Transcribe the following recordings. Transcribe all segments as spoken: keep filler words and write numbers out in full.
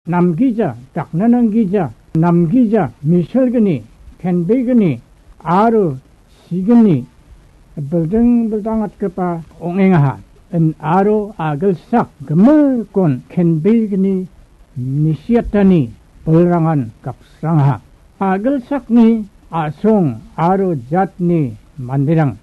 namgija, dakna nanggija, namgija, misilgni, kenbegni, aro signi, bilding bildangatgipa ong·engaha. In aro agilsak gimikon kenbegni nisiatani bilrangan gapsrangaha. Agilsakni a·song aro jatni manderang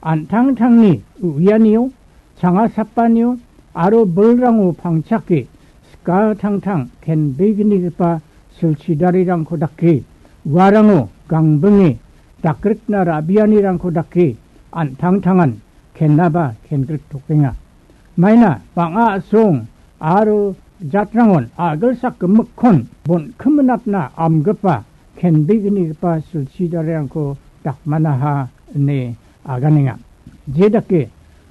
an·tangtangni u·ianio, changa sapanio aro bilrango pangchake skatangtang kenbegnigipa silchidarirangko dake, uarango gangbinge dakrikna ra·bianirangko dake an·tangtangan kennaba kengriktokenga. Maina bang·a a·song aro jatrangon agilsak gimikkon bonkiminatna amgipa kenbegnigipa silchidarirangko dakmanaha ine aganenga. Jedake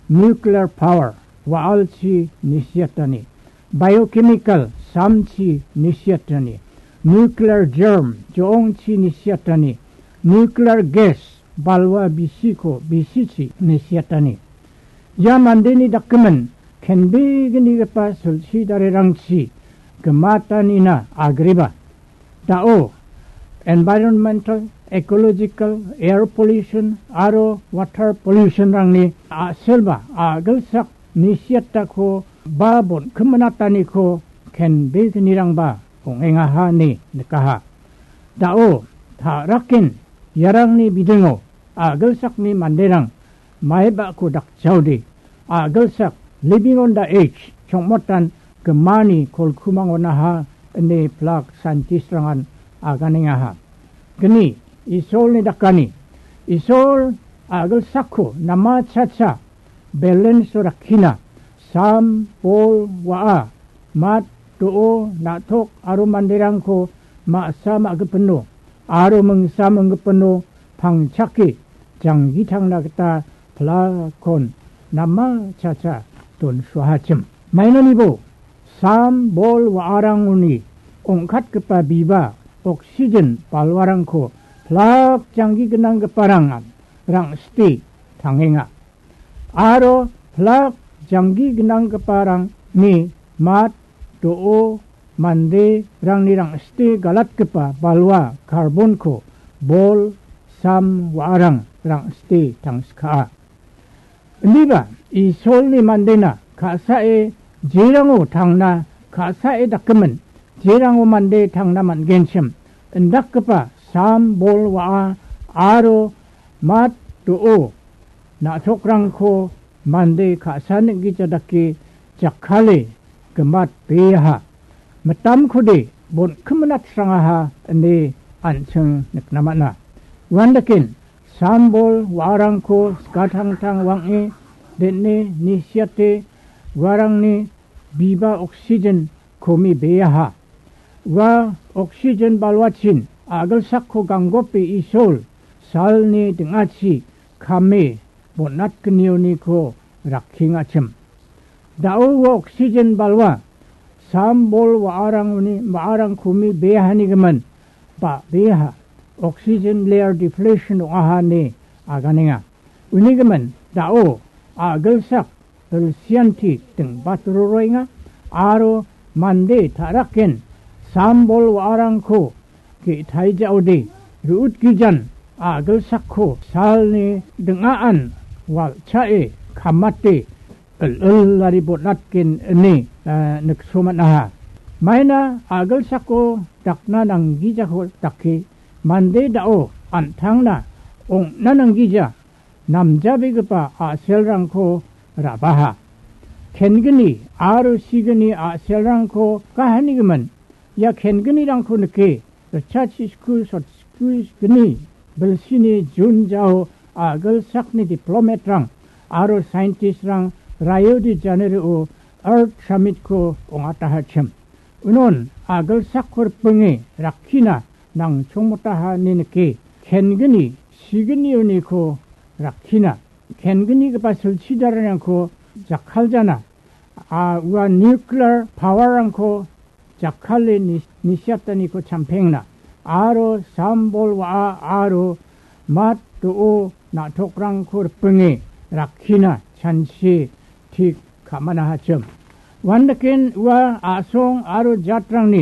nuclear power wa·alchi nisiatani, biochemical samchi nisiatani, nuclear germ jo·ongchi nisiatani, nuclear gas balwa bisiko bisichi nisiatani. Ia mandeni dakgimin kenbegnigipa silchidarirangchi gimatanina agreba. Da·o environmental, ecological, air pollution aro water pollution-rangni a·selba agilsak nisiatako ba bonkiminataniko kenbegnirangba ong·engaha ine nikaha. Da·o ta·raken iarangni bidingo agilsakni manderang maibako dakchaode, agilsak living on the edge, chongmotan gimani kolkumangonaha ine plak scientist-rangan aganengaha. Gni, Isolni dakani. Isol agilsakko namachacha balance-o rakkina. Sam, bol, wa·a, mat, do·o, na·tok aro manderangko ma·sa ma·gipino aro mingsa minggipino pangchake janggitangna gita plakon namachacha donsuahachim. Mainonibo sam, bol, wa·arangoni ong·katgipa biba oksigen balwarangko plak janggi gnanggiparangan rang·site tangenga. Aro plak janggi gnanggiparangni mat, do·o, manderangni rang·site galatgipa balwa karbonko bol, sam, wa·arang rang·site tangsikaa. Indiba Isolni mandena ka·sae jerango tangna, ka·sae dakgimin jerango mande tangna man·genchim indakgipa sam, bol, wa·a aro mat, do·o, na·tokrangko mande ka·sa ning·gija dake jakkale gimatbeaha. Mitamkode bonkiminatsrangaha ine an·ching nikna man·a. Uandaken sam, bol, wa·arangko skatangtang wang·e den·e nisiate uarangni biba oksigen komibeaha. Ua oksigen balwachin agilsakko ganggope Isol salni ding·achi kame bon·atgnioniko rakkengachim. Da·o ua oksigen balwa sam, bol, wa·arangoni, wa·arang komibeahanigimin ba·beaha oksigen layer depletion ong·aha ine aganenga. Unigimin da·o agilsak bilsianti dingbatroroenga aro mande ta·raken sam, bol, wa·arangko ge·taijaode ru·utgijan agilsakko salni ding·aan walchae kamate il-ilari bon·atgen ine, eh, nikso man·aha. Maina agilsako dakna nanggijako dake mande da·o an·tangna ong·na nanggija namjabegipa a·selrangko rabaha. Kengni aro signi a·selrangko kahanigimin ia kengnirangko nike, ritchasisku sotsku gni bilsini Jun jao agilsakni diplomat-rang aro scientist-rang Rio de Janeiro-o Earth Summit-ko ong·atahachim. Unon agilsakko ripinge rakkina nangchongmotaha ine nike, kengni signioniko rakkina, kengnigipa silchidarangko jakkaljana, a, ua nuclear power-rangko jakkale ni-, nisiataniko champengna, aro sam, bol, wa·a aro mat, do·o, na·tokrangko ripinge rakkina chansi tik ka·manahachim. Uandaken ua a·song aro jatrangni